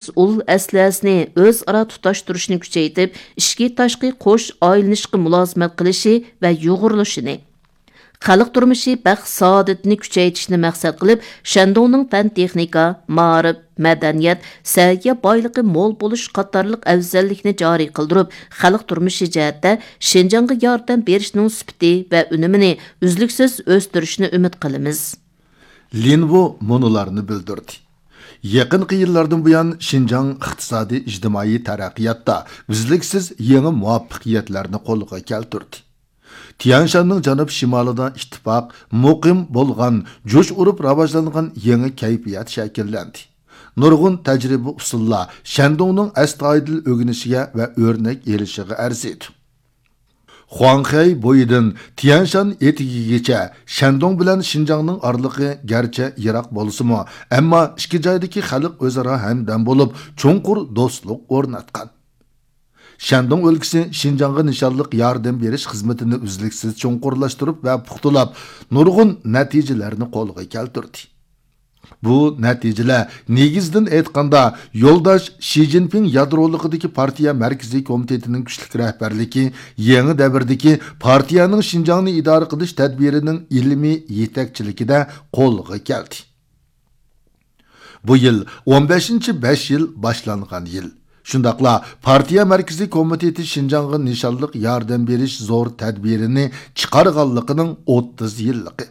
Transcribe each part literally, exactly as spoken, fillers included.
مەسئۇل ئەسلىھەسىنى ئۆزئارا تۇتاشتۇرۇشنى كۈچەيتىپ، ئىچكى تاشقى قوش ئايلىنىشقا مۇلازىمەت قىلىشى ۋە يۇغۇرۇلۇشىنى، خەلق تۇرمۇشى بەخت سائادىتىنى كۈچەيتىشنى مەقسەت قىلىپ، شەندۇڭنىڭ پەن تېخنىكا، مائارىپ، مەدەنىيەت، سەھىيە بايلىقى مول بولۇش قاتارلىق ئەۋزەللىكنى جارى قىلدۇرۇپ، خەلق تۇرمۇشى جەھەتتە شىنجاڭغا ياردەم بېرىشنىڭ سۈپىتى ۋە ئۈنۈمىنى ئۈزلۈكسىز ئۆستۈرۈشنى ئۈمىد قىلىمىز. لىن ۋۇ مۇنۇلارنى بىلدۈردى. يېقىنقى يىللاردىن بۇيان، شىنجاڭ ئىقتىسادىي ئىجتىمائىي تەرەققىياتتا ئۈزلۈكسىز يېڭى مۇۋەپپەقىيەتلەرنى قولغا كەلتۈردى. تيەنشاننىڭ جەنۇب شىمالىدا ئىتتىپاق، مۇقىم بولغان، جۇش ئۇرۇپ راۋاجلانغان يېڭى كەيپىيات شەكىللەندى. نۇرغۇن تەجرىبە ئۇسۇللار شەندۇڭنىڭ ئەستايىدىل ئۆگىنىشىگە ۋە ئۆرنەك ئېلىشىغا ئەرزىيدۇ. خۇاڭخەي بويىدىن تيەنشان ئېتىكىگىچە شەندۇڭ بىلەن شىنجاڭنىڭ ئارىلىقى گەرچە يىراق بولسىمۇ، ئەمما ئىككى جايدىكى خەلق ئۆزئارا ھەمدەم بولۇپ، چوڭقۇر دوستلۇق ئورناتقان. شەندۇڭ ئۆلكىسى شىنجاڭغا نىشانلىق ياردەم بېرىش خىزمىتىنى ئۈزلۈكسىز چوڭقۇرلاشتۇرۇپ ۋە پۇختىلاپ، نۇرغۇن نەتىجىلەرنى قولغا كەلتۈردى. بۇ نەتىجىلەر، نېگىزىدىن ئېيتقاندا، يولداش شى جىنپىڭ يادرولۇقىدىكى پارتىيە مەركىزىي كومىتېتىنىڭ كۈچلۈك رەھبەرلىكى، يېڭى دەۋردىكى پارتىيەنىڭ شىنجاڭنى ئىدارە قىلىش تەدبىرىنىڭ ئىلمىي يېتەكچىلىكىدە قولغا كەلدى. بۇ يىل ئون بەشىنچى بەش يىل باشلانغان يىل. شۇنداقلا پارتىيە مەركىزىي كومىتېتى شىنجاڭغا نىشانلىق ياردەم بېرىش زور تەدبىرىنى چىقارغانلىقىنىڭ ئوتتۇز يىللىقى.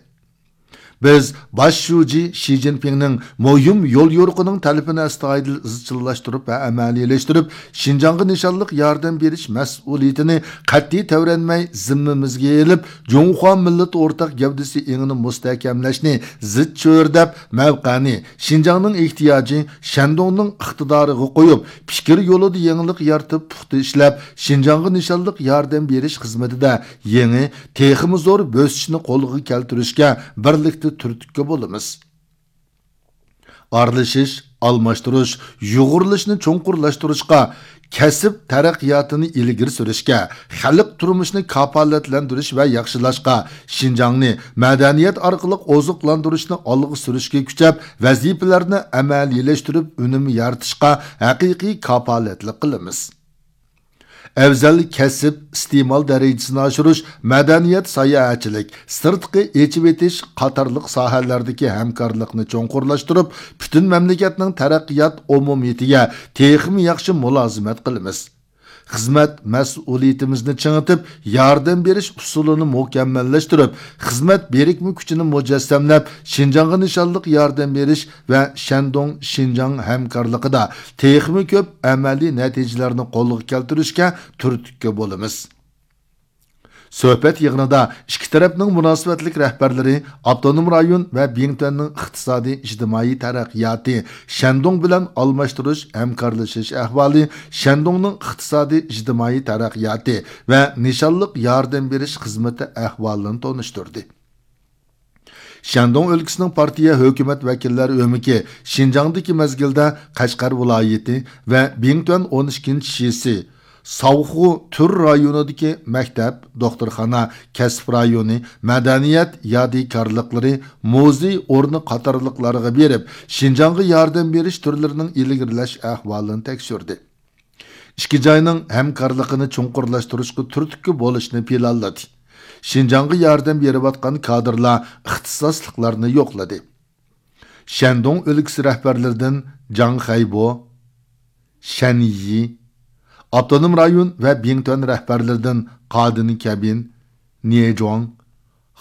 بىز باش شۇجى شى جىنپىڭنىڭ مۇھىم يوليورۇقىنىڭ تەلىپىنى ئەستايىدىل ئىزچىللاشتۇرۇپ ۋە ئەمەلىيلەشتۈرۈپ، شىنجاڭغا نىشانلىق ياردەم بېرىش مەسئۇلىيىتىنى قەتئىي تەۋرەنمەي زىممىمىزگە ئېلىپ، جۇڭخۇا مىللىتى ئورتاق گەۋدىسى ئېڭىنى مۇستەھكەملەشنى زىچ چۆرىدەپ، مەۋقەنى شىنجاڭنىڭ ئېھتىياجى، شەندۇڭنىڭ ئىقتىدارىغا قويۇپ، پىكىر يولىدا يېڭىلىق يارىتىپ، پۇختا ئىشلەپ، شىنجاڭغا نىشانلىق ياردەم بېرىش خىزمىتىدە يېڭى، تېخىمۇ زور بۆسۈشنى قولغا كەلتۈرۈشكە بىرلىكتە تۈرتكە بولىمىز. ئارىلىشىش، ئالماشتۇرۇش، يۇغۇرۇلۇشنى چوڭقۇرلاشتۇرۇشقا، كەسىپ تەرەققىياتىنى ئىلگىرى سۈرۈشكە، خەلق تۇرمۇشىنى كاپالەتلەندۈرۈش ۋە ياخشىلاشقا، شىنجاڭنى مەدەنىيەت ئارقىلىق ئوزۇقلاندۇرۇشنى ئالغا سۈرۈشكە كۈچەپ، ۋەزىپىلەرنى ئەمەلىيلەشتۈرۈپ، ئۈنۈم يارىتىشقا ھەقىقىي كاپالەتلىك قىلىمىز. ئەۋزەل كەسىپ ئىستېمال دەرىجىسىنى ئاشۇرۇش، مەدەنىيەت، ساياھەتچىلىك، سىرتقا ئېچىۋېتىش قاتارلىق ساھەلەردىكى ھەمكارلىقنى چوڭقۇرلاشتۇرۇپ، پۈتۈن مەملىكەتنىڭ تەرەققىيات ئومۇمىيىتىگە تېخىمۇ ياخشى مۇلازىمەت قىلىمىز. خىزمەت مەسئۇلىيىتىمىزنى چىڭىتىپ، ياردەم بېرىش ئۇسۇلىنى مۇكەممەللەشتۈرۈپ، خىزمەت بىرىكمە كۈچىنى مۇجەسسەملەپ، شىنجاڭغا نىشانلىق ياردەم بېرىش ۋە شەندۇڭ شىنجاڭ ھەمكارلىقىدا تېخىمۇ كۆپ ئەمەلىي نەتىجىلەرنى قولغا كەلتۈرۈشكە تۈرتكە بولىمىز. سۆھبەت يىغىنىدا ئىككى تەرەپنىڭ مۇناسىۋەتلىك رەھبەرلىرى ئاپتونوم رايون ۋە بىڭتۈەننىڭ ئىقتىسادىي ئىجتىمائىي تەرەققىياتى، شەندۇڭ بىلەن ئالماشتۇرۇش، ھەمكارلىشىش ئەھۋالى، شەندۇڭنىڭ ئىقتىسادىي ئىجتىمائىي تەرەققىياتى ۋە نىشانلىق ياردەم بېرىش خىزمىتى ئەھۋالىنى تونۇشتۇردى. شەندۇڭ ئۆلكىسىنىڭ پارتىيە ھۆكۈمەت ۋەكىللەر ئۆمىكى شىنجاڭدىكى مەزگىلدە قەشقەر ۋىلايىتى ۋە بىڭتۈەن ئون ئىككىنچى شىسى، ساۋخۇ تۈر رايونىدىكى مەكتەپ، دوختۇرخانا، كەسىپ رايونى، مەدەنىيەت يادىكارلىقلىرى، مۇزېي ئورنى قاتارلىقلارغا بېرىپ، شىنجاڭغا ياردەم بېرىش تۈرلىرىنىڭ ئىلگىرىلەش ئەھۋالىنى تەكشۈردى. ئىككى جاينىڭ ھەمكارلىقىنى چوڭقۇرلاشتۇرۇشقا تۈرتكە بولۇشنى پىلانلىدى. شىنجاڭغا ياردەم بېرىۋاتقان كادىرلار ئىختىساسلىقلارنى يوقلىدى. شەندۇڭ ئۆلكىسى رەھبەرلىرىدىن جاڭ خەيبو، شەن يى، ئاپتونوم رايون ۋە بىڭتۈەن رەھبەرلىرىدىن قادىن كەبىن، نيې جۇاڭ،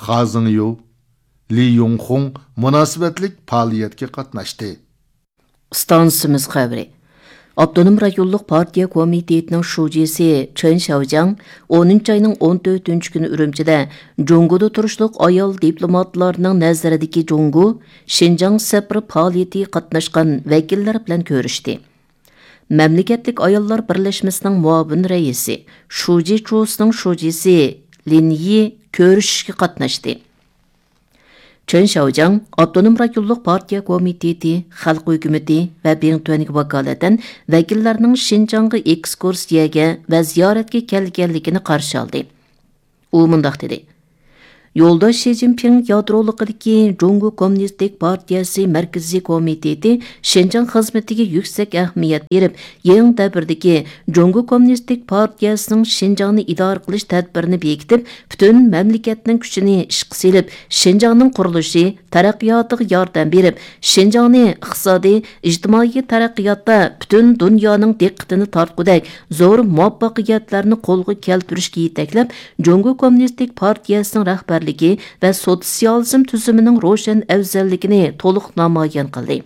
خا زېڭيۇ، لى يۇڭخۇڭ مۇناسىۋەتلىك پائالىيەتكە قاتناشتى. ئىستانسىمىز خەۋىرى. ئاپتونوم رايونلۇق پارتىيە كومىتېتىنىڭ شۇجىسى چېن شياۋجياڭ ئونىنچى ئاينىڭ ئون تۆتىنچى كۈنى ئۈرۈمچىدە جۇڭگودا تۇرۇشلۇق ئايال دىپلوماتلارنىڭ نەزىرىدىكى جۇڭگو شىنجاڭ سەپىرى پائالىيىتىگە قاتناشقان ۋەكىللەر بىلەن كۆرۈشتى. مەملىكەتلىك ئاياللار بىرلەشمىسىنىڭ مۇئاۋىن رەئىسى، شۇجى چۇسىنىڭ شۇجىسى لىن يى كۆرۈشۈشكە قاتناشتى. چېن شياۋجياڭ ئاپتونوم رايونلۇق پارتىيە كومىتېتى، خەلق ھۆكۈمىتى ۋە بىڭتۈەنگە ۋاكالىتەن ۋەكىللەرنىڭ شىنجاڭغا ئېكسكۇرسىيەگە ۋە زىيارەتكە كەلگەنلىكىنى قارشى ئالدى. ئۇ مۇنداق دېدى: يولداش شى جىنپىڭ يادرولۇقىدىكى جۇڭگو كوممۇنىستىك پارتىيەسى مەركىزىي كومىتېتى شىنجاڭ خىزمىتىگە يۈكسەك ئەھمىيەت بېرىپ، يېڭى دەۋردىكى جۇڭگو كوممۇنىستىك پارتىيەسىنىڭ شىنجاڭنى ئىدارە قىلىش تەدبىرىنى بېكىتىپ، پۈتۈن مەملىكەتنىڭ كۈچىنى ئىشقا سېلىپ، شىنجاڭنىڭ قۇرۇلۇشى، تەرەققىياتىغا ياردەم بېرىپ، شىنجاڭنى ئىقتىسادىي، ئىجتىمائىي تەرەققىياتتا پۈتۈن دۇنيانىڭ دىققىتىنى تارتقۇدەك زور مۇۋەپپەقىيەتلەرنى قولغا كەلتۈرۈشكە يېتەكلەپ، جۇڭگو كوممۇنىستىك پارتىيەسىنىڭ رەھبەرلىكى ۋە سوتسىيالىزم تۈزۈمىنىڭ روشەن ئەۋزەللىكىنى تولۇق نامايان قىلدى.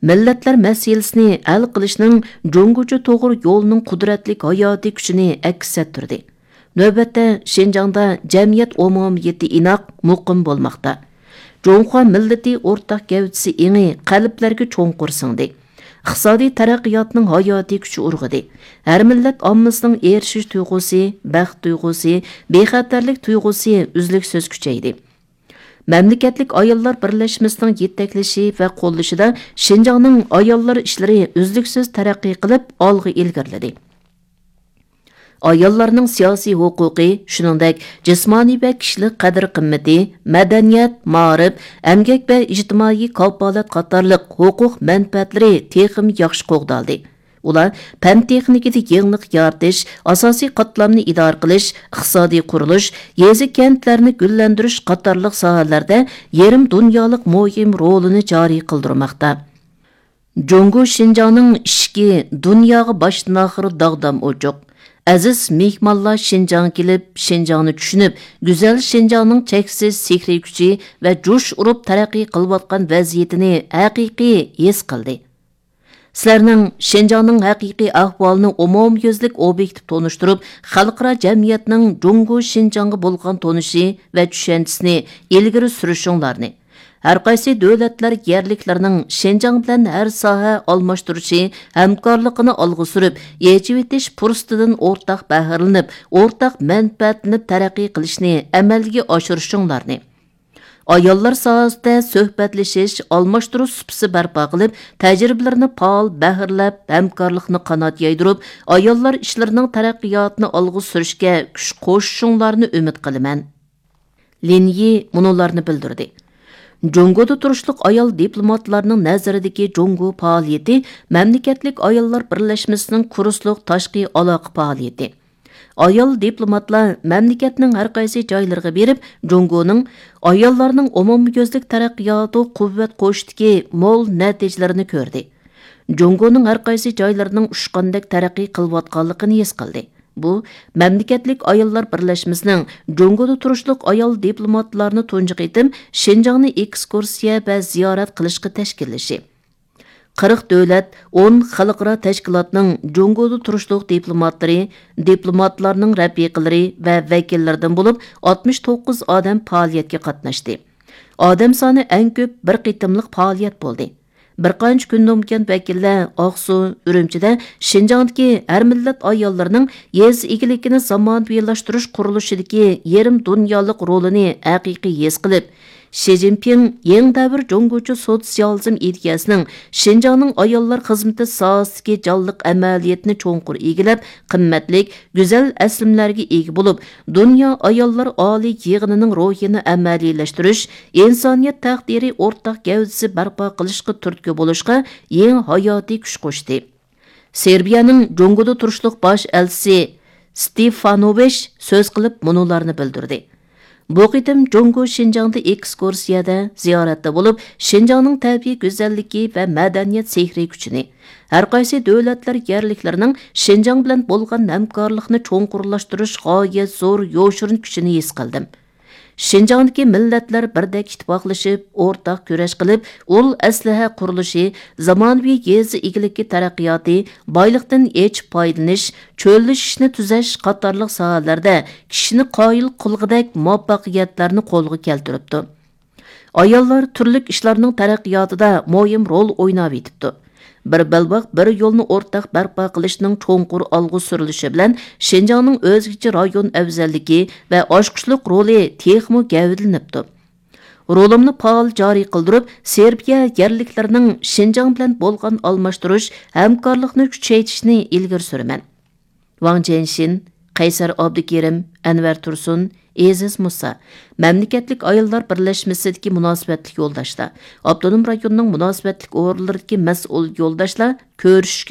مىللەتلەر مەسىلىسىنى ھەل قىلىشنىڭ جۇڭگوچە توغرا يولىنىڭ قۇدرەتلىك ھاياتىي كۈچىنى ئەكس ئەتتۈردى. نۆۋەتتە شىنجاڭدا جەمئىيەت ئومۇمىيىتى ئىناق، مۇقىم بولماقتا. جۇڭخۇا مىللىتى ئورتاق گەۋدىسى ئېڭى قەلبلەرگە چوڭقۇر سىڭدى. ئىقتىسادىي تەرەققىياتنىڭ ھاياتىي كۈچى ئۇرغۇدى. ھەر مىللەت ئاممىسىنىڭ ئېرىشىش تۇيغۇسى، بەخت تۇيغۇسى، بىخەتەرلىك تۇيغۇسى ئۈزلۈكسىز كۈچەيدى. مەملىكەتلىك ئاياللار بىرلەشمىسىنىڭ يېتەكلىشى ۋە قوللىشىدا شىنجاڭنىڭ ئاياللار ئىشلىرى ئۈزلۈكسىز تەرەققىي قىلىپ، ئالغا ئىلگىرىلىدى. ئاياللارنىڭ سىياسىي ھوقۇقى، شۇنىڭدەك جىسمانىي ۋە كىشىلىك قەدىر-قىممىتى، مەدەنىيەت، مائارىپ، ئەمگەك ۋە ئىجتىمائىي كاپالەت قاتارلىق ھوقۇق مەنپەئەتلىرى تېخىمۇ ياخشى قوغدالدى. ئۇلار پەن-تېخنىكىدا يېڭىلىق يارىتىش، ئاساسىي قاتلامنى ئىدارە قىلىش، ئىقتىسادىي قۇرۇلۇش، يېزا-كەنتلەرنى گۈللەندۈرۈش قاتارلىق ساھەلەردە يېرىم دۇنيالىق مۇھىم رولىنى جارى قىلدۇرماقتا. جۇڭگو شىنجاڭنىڭ ئىشىكى دۇنياغا باشتىن-ئاخىر داغدام ئوچۇق. ئەزىز مېھمانلار شىنجاڭغا كېلىپ، شىنجاڭنى چۈشىنىپ، گۈزەل شىنجاڭنىڭ چەكسىز سېھرىي كۈچى ۋە جۇش ئۇرۇپ تەرەققىي قىلىۋاتقان ۋەزىيىتىنى ھەقىقىي ھېس قىلدى. سىلەرنىڭ شىنجاڭنىڭ ھەقىقىي ئەھۋالىنى ئومۇميۈزلۈك ئوبيېكتىپ تونۇشتۇرۇپ، خەلقئارا جەمئىيەتنىڭ جۇڭگو شىنجاڭغا بولغان تونۇشى ۋە چۈشەنچىسىنى ئىلگىرى سۈرۈشۈڭلارنى، ھەرقايسى دۆلەتلەر يەرلىكلىرىنىڭ شىنجاڭ بىلەن ھەر ساھە ئالماشتۇرۇشى، ھەمكارلىقىنى ئالغا سۈرۈپ، ئېچىۋېتىش پۇرسىتىدىن ئورتاق بەھرىلىنىپ، ئورتاق مەنپەئەتلىنىپ تەرەققىي قىلىشنى ئەمەلگە ئاشۇرۇشۇڭلارنى، ئاياللار ساھەسىدە سۆھبەتلىشىش، ئالماشتۇرۇش سۇپىسى بەرپا قىلىپ، تەجرىبىلىرىنى پائال بەھرىلەپ، ھەمكارلىقنى قانات يايدۇرۇپ، ئاياللار ئىشلىرىنىڭ تەرەققىياتىنى ئالغا سۈرۈشكە كۈچ قوشۇشۇڭلارنى ئۈمىد قىلىمەن. لىن يى مۇنۇلارنى بىلدۈردى: جۇڭگودا تۇرۇشلۇق ئايال دىپلوماتلارنىڭ نەزىرىدىكى جۇڭگو پائالىيىتى مەملىكەتلىك ئاياللار بىرلەشمىسىنىڭ كۇرسلۇق تاشقى ئالاقە پائالىيىتى. ئايال دىپلوماتلار مەملىكەتنىڭ ھەر قايسى جايلىرىغا بېرىپ، جۇڭگونىڭ ئاياللارنىڭ ئومۇميۈزلۈك تەرەققىياتىغا قۇۋۋەت قوشۇشتىكى مول نەتىجىلىرىنى كۆردى. جۇڭگونىڭ ھەر قايسى جايلىرىنىڭ ئۇچقاندەك تەرەققىي قىلىۋاتقانلىقىنى ھېس قىلدى. بۇ، مەملىكەتلىك ئاياللار بىرلەشمىسىنىڭ جۇڭگودا تۇرۇشلۇق ئايال دىپلوماتلارنى تۇنجى قېتىم شىنجاڭنى ئېكسكۇرسىيە ۋە زىيارەت قىلىشقا تەشكىللىشى. قىرىق دۆلەت، ئون خەلقئارا تەشكىلاتنىڭ جۇڭگودا تۇرۇشلۇق دىپلوماتلىرى، دىپلوماتلارنىڭ رەپىقىلىرى ۋە ۋەكىللىرىدىن بولۇپ ئاتمىش توققۇز ئادەم پائالىيەتكە قاتناشتى. ئادەم سانى ئەڭ كۆپ بىر قېتىملىق پائالىيەت بولدى. بىر قانچە كۈندىن بۇيان ۋەكىللەر ئاقسۇ، ئۈرۈمچىدە شىنجاڭدىكى ھەر مىللەت ئاياللىرىنىڭ يېزا ئىگىلىكىنى زامانىۋىلاشتۇرۇش قۇرۇلۇشىدىكى يېرىم دۇنيالىق رولىنى ھەقىقىي ھېس قىلىپ، شى جىنپىڭ يېڭى دەۋر جۇڭگوچە سوتسىيالىزم ئىدىيەسىنىڭ شىنجاڭنىڭ ئاياللار خىزمىتى ساھەسىدىكى جانلىق ئەمەلىيىتىنى چوڭقۇر ئىگىلەپ، قىممەتلىك، گۈزەل ئەسلىمىلەرگە ئىگە بولۇپ، دۇنيا ئاياللار ئالىي يىغىنىنىڭ روھىنى ئەمەلىيلەشتۈرۈش، ئىنسانىيەت تەقدىرى ئورتاق گەۋدىسى بەرپا قىلىشقا تۈرتكە بولۇشقا يېڭى ھاياتىي كۈچ قوشتى. سېربىيەنىڭ جۇڭگودا تۇرۇشلۇق باش ئەلچىسى ستېفانوۋىچ سۆز قىلىپ مۇنۇلارنى بىلدۈردى: بۇ قېتىم جۇڭگو شىنجاڭدا ئېكسكۇرسىيەدە، زىيارەتتە بولۇپ، شىنجاڭنىڭ تەبىئىي گۈزەللىكى ۋە مەدەنىيەت سېھرىي كۈچىنى، ھەرقايسى دۆلەتلەر يەرلىكلىرىنىڭ شىنجاڭ بىلەن بولغان ھەمكارلىقنى چوڭقۇرلاشتۇرۇش غايەت زور يوشۇرۇن كۈچىنى ھېس قىلدىم. شىنجاڭدىكى مىللەتلەر بىردەك ئىتتىپاقلىشىپ، ئورتاق كۈرەش قىلىپ، ئۇل ئەسلىھە قۇرۇلۇشى، زامانىۋى يېزا ئىگىلىكى تەرەققىياتى، بايلىقتىن ئېچىپ پايدىلىنىش، چۆللىشىشنى تۈزەش قاتارلىق ساھەلەردە كىشىنى قايىل قىلغۇدەك مۇۋەپپەقىيەتلەرنى قولغا كەلتۈرۈپتۇ. ئاياللار تۈرلۈك ئىشلارنىڭ تەرەققىياتىدا مۇھىم رول ئويناۋېتىپتۇ. بىر بەلباغ، بىر يولنى ئورتاق بەرپا قىلىشنىڭ چوڭقۇر ئالغا سۈرۈلۈشى بىلەن شىنجاڭنىڭ ئۆزگىچە رايون ئەۋزەللىكى ۋە ئاچقۇچلۇق رولى تېخىمۇ گەۋدىلىنىپتۇ. رولۇمنى پائال جارى قىلدۇرۇپ، سېربىيە يەرلىكلىرىنىڭ شىنجاڭ بىلەن بولغان ئالماشتۇرۇش، ھەمكارلىقنى كۈچەيتىشنى ئىلگىرى سۈرىمەن. ۋاڭ جيەنشىن، قەيسەر ئابدۇكېرىم، ئەنۋەر تۇرسۇن، ئېزىز مۇسا، مەملىكەتلىك ئاياللار بىرلەشمىسىدىكى مۇناسىۋەتلىك يولداشلار، ئاپتونوم رايوننىڭ مۇناسىۋەتلىك ئورۇنلىرىدىكى مەسئۇل يولداشلار كۆرۈشۈشكە